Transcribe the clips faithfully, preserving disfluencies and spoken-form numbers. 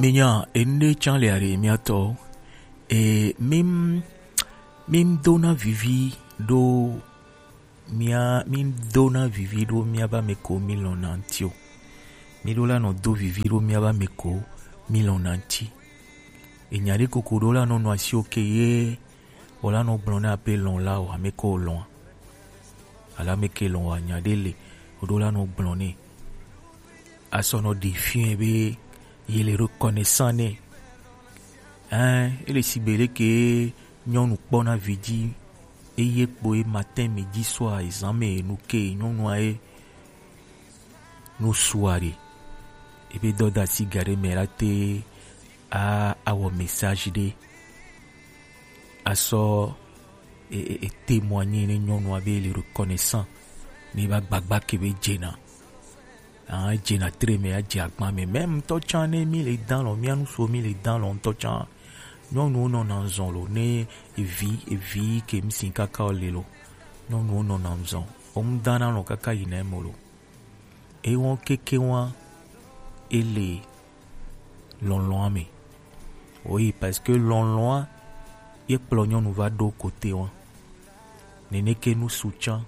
Minya ende can le are miatɔ. E mim mim dona vivi ɖo mia mim dona vivi ɖo miaba me ko mi lɔna ŋti o. Mi ɖo la nɔ do vivi ɖo miaba me ko mi lɔna ŋti. Enya ɖe koko ɖo la nɔ nɔ asi o ke ye o la nɔ gblɔ ne ape lɔn la o ame ko lɔn. Ala me ke lɔn wa nya ɖe le o ɖo la nɔ gblɔ ne. Asɔ nɔ ɖi fiɛ be ye le reconnaissant ne. Hein, ele sigbe leke nyɔnu kpɔna vi dzi eye kpo ye matin midi soir ezan me nu ke nyɔnua ye nu sua ɖe. Ebe dɔda si ga ɖe me la te a awɔ message ɖe asɔ e, e, e témoigner ne nyɔnua be le reconnaissant ne ba gbagba ke be dzena. Ah, dzena tre me adze agba me. Même ŋutɔ tsã ne mi le dan lɔ, mia nu so mi le dan lɔ ŋutɔ tsã. Nyɔnuwo nɔna zɔn lo ne evi evi ke mi si kaka o le lo. Nyɔnuwo nɔna zɔn. O mu dana lɔ kaka yi na emo lo. Ewɔn keke wa ele lɔlɔa me. Oui, parce que lɔlɔa ye kplɔ nyɔnu va ɖo kote wa. Nene ke nu su tsã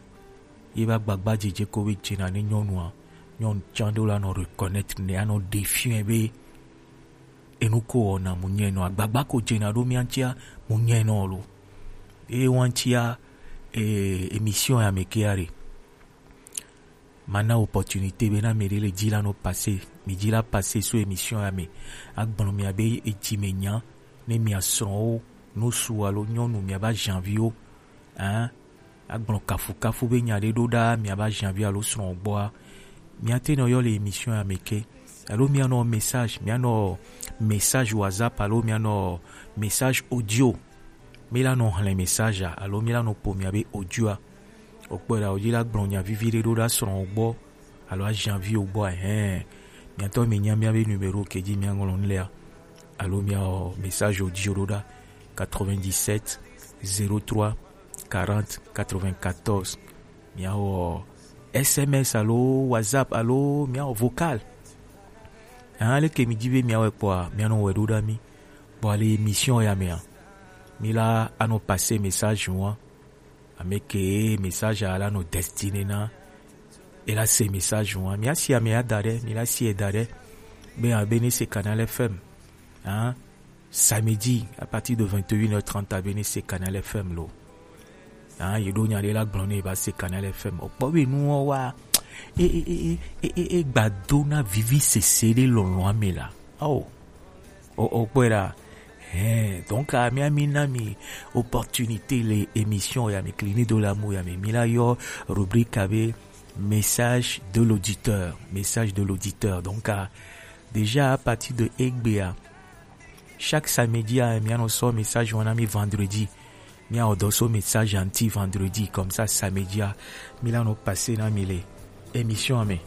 ye va gbagba dzedze ko be dzena ne nyɔnua, nyɔnu tsã ɖo la nɔ reconnaître ne anɔ ɖe fiɛ be enu ko wɔna mu nyɛ nɔ agbagba ko dzena ɖo mia ŋtia mu nyɛ nɔ lo. Eye wa ŋtia e, émission ya me ke are. Mana opportunité be na me ɖe le dzi la nɔ passer, mi dzi la passer so émission ya me. Agblɔ mia be edzi me nya ne mia srɔ̃wo nu su alo nyɔnu mia ba janviwo. Hein? Agblɔ kafukafu be nya ɖe ɖo ɖa mia ba janvi alo srɔ̃ gbɔa. Mia te nɔ yɔ le émission ya me ke. Alo mia nɔ message, mia nɔ message WhatsApp alo mia nɔ message audio. Mi la nɔ hlẽ message a, alo mi la nɔ po mia be audio a. O kpɔe ɖa, o dzi la gblɔ nya vivi ɖe ɖo ɖa srɔ̃ gbɔ, alo ajanvi o gbɔ, ɛhɛn. Miatɔ mi nya mia be numéro ke dzi mia ŋlɔ nu lea, alo mia wɔ message audio ɖo ɖa quatre-vingt-dix-sept zéro trois quarante quatre-vingt-quatorze. Mia wɔ S M S alo WhatsApp alo mia wɔ vocal. Hã, leke mi dzi be mia wɔ kpɔa, mia nɔ wɔ ɖo ɖa mi. Kpɔ ale émission ya mea, mi la anɔ passer message wa. Ame ke message a la nɔ destiné na, e la se message wa. Mia si ame ya da ɖe, mi la si e da ɖe. Be abe ne se Canal F M. Hein? Samedi, à partir de vingt et une heures trente, abe ne se Canal F M lo. Hein, ye ɖo nya ɖe la gblɔ ne va se Canal F M. O kpɔ be nuwo wa. E, e, e, e, e, e, e gba do na vivi sese ɖe lɔlɔa me la. Oh. O, o kpɔe ɖa. Hein, donc, ah, mi, mi na mi opportunité le émission ya mi Clinique de l'amour ya mi. Mi la yɔ rubrique abe message de l'auditeur. Message de l'auditeur. Donc, ah, déjà à partir de egbea, chaque samedi, ah, mi anɔ sɔ message wana mi vendredi. Mi a odo so message anti vendredi. Comme ça, samedi, ah, mi la no passer na mi le émission, mais